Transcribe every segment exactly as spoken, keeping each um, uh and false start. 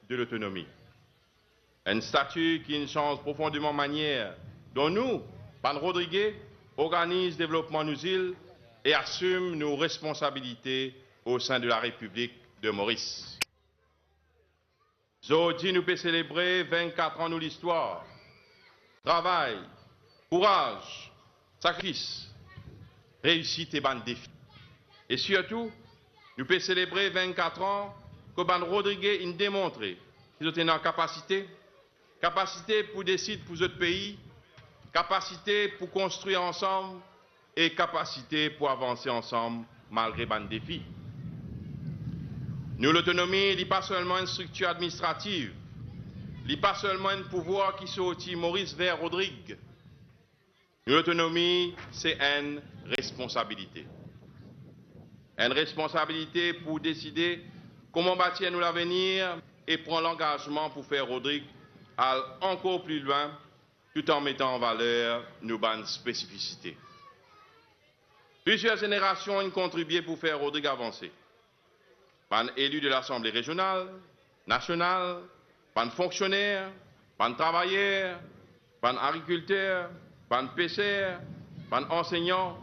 de lotonomi. Enn stati ki'nn sanz profondeman manier don nou, bann Rodrige, organiz devlopman nou zil e asim nou responsabilite o sein de la Repiblik de Moris. Zordi nou pe selebre vinn-kat an nou listwar, travay, kouraz, sakrifis, reisit e bann defi. E sirtou, nou pe selebre vinn-kat an kot bann Rodrige inn demontre ki zot ena kapasite, kapasite pou desid pou zot pei, kapasite pou konstrir ansam e kapasite pou avanse ansam malgre bann defi. Nou lotonomi, li pa selman enn striktir administrativ, li pa selman enn pouvwar ki sorti Moris ver Rodrig. Nou lotonomi, se enn responsabilite. Enn responsabilite pou deside kouma batir nou lavenir e pran langazman pou fer Rodrig al ankor pli lwin, tout an metan an valer nou bann spesifisite. Plizier zenerasion inn kontribie pou fer Rodrig avanse. Bann eli de Lasanble Rezional, Nasional, bann fonksioner, bann travayer, bann agrikilter, bann peser, bann ansegnan,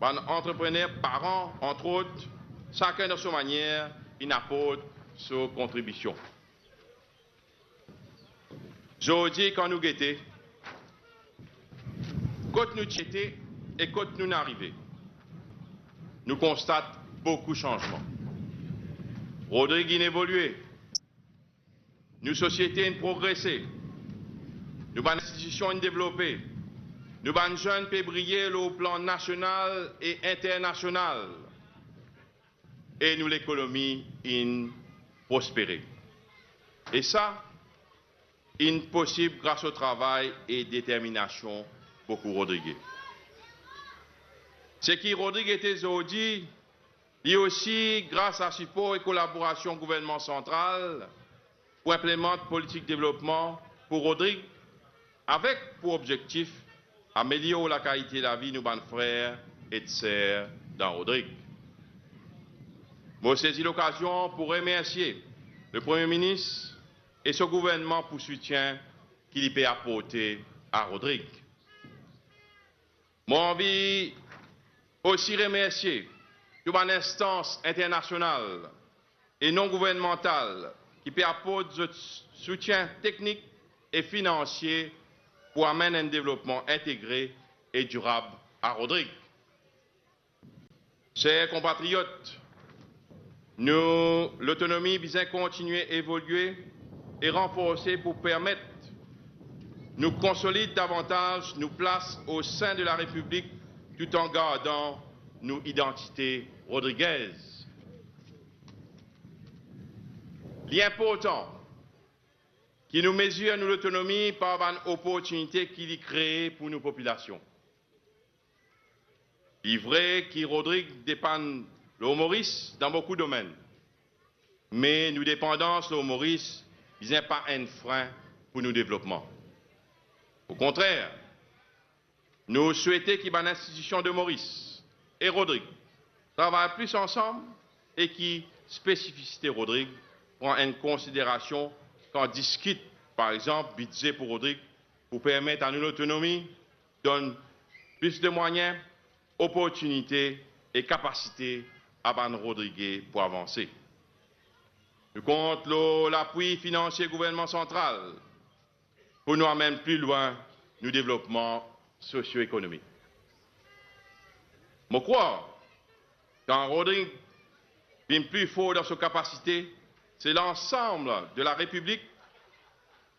bann antreprener, paran, antrot, sakenn dan so manier, inn aport so kontribision. Zordi, kan nou gete kot nou ti ete e kot nou'nn arive, nou konstat boukou sanzman. Rodrig inn evolie, nou sosiete inn progrese, nou bann institision inn devlope, nou bann zenn pe briye lor plan nasional e internasional, e nou lekonomi inn prospere. E sa inn posib gras o travay e determinasion boukou Rodrige. Seki Rodrig ete zordi, li osi gras a sipor e kolaborasion gouvernman santral pou inplimant politik devlopman pou Rodrig, avek pou objektif amelior lakalite lavi nou bann frer ek ser dan Rodrig. Mo sezi lokazion pou remersie le Premie Minis e so gouvernman pou soutien ki li pe aporte a Rodrig. Mo anvi osi remersie tou bann instans internasional e non-gouvernmantal ki pe aport zot soutien teknik e finansie pou amenn enn devlopman integre e dirab a Rodrig. Ser konpatriot, nou lotonomi bizin kontigne evolie e ranforse pou permet nou konsolid davantaz nou plas o sein de la Repiblik, tout an gardan nou idantite rodrigez. Li inportan ki nou mezir nou lotonomi par bann oportinite ki li kree pou nou popilasion. Li vre ki Rodrig depann lor Moris dan boukou domenn, me nou depandans lor Moris bizin pa enn frin pou nou devlopman. Okontrer, nou swete ki bann institision de Moris e Rodrig travay plis ansam e ki spesifisite Rodrig pran enn konsiderasion kan diskit, par exanp, bidze pou Rodrig, pou permet a nou lotonomi donn plis de mwayin, oportinite e kapasite a bann Rodrige pou avanse. Nou kont lor lapwi finansie gouvernman santral pou nou amenn pli lwin nou devlopman sosio-ekonomik. Mo krwar, kan Rodrig vinn pli for dan so kapasite, se lansam de la Repiblik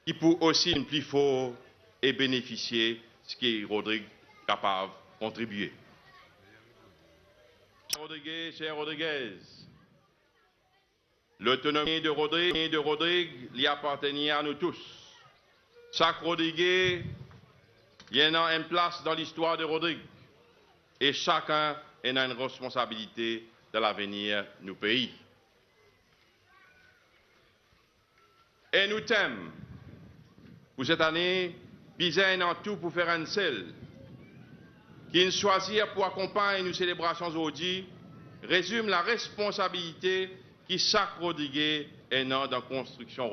ki pou osi vinn pli for e benefisie seki Rodrig kapav kontribie. Rodrige, ser Rodrigez, lotonomi de Rodrig, de Rodrig, li apartenir a nou tous. Sak Rodrige, li ena enn plas dan listwar de Rodrig, e sakenn ena enn responsabilite dan lavenir nou pei. E nou tem pou set ane, bizin ena tou pou fer enn sel, ki'nn swazir pou akonpagn nou selebrasion zordi, rezim laresponsabilite ki sak Rodrige ena dan konstriksion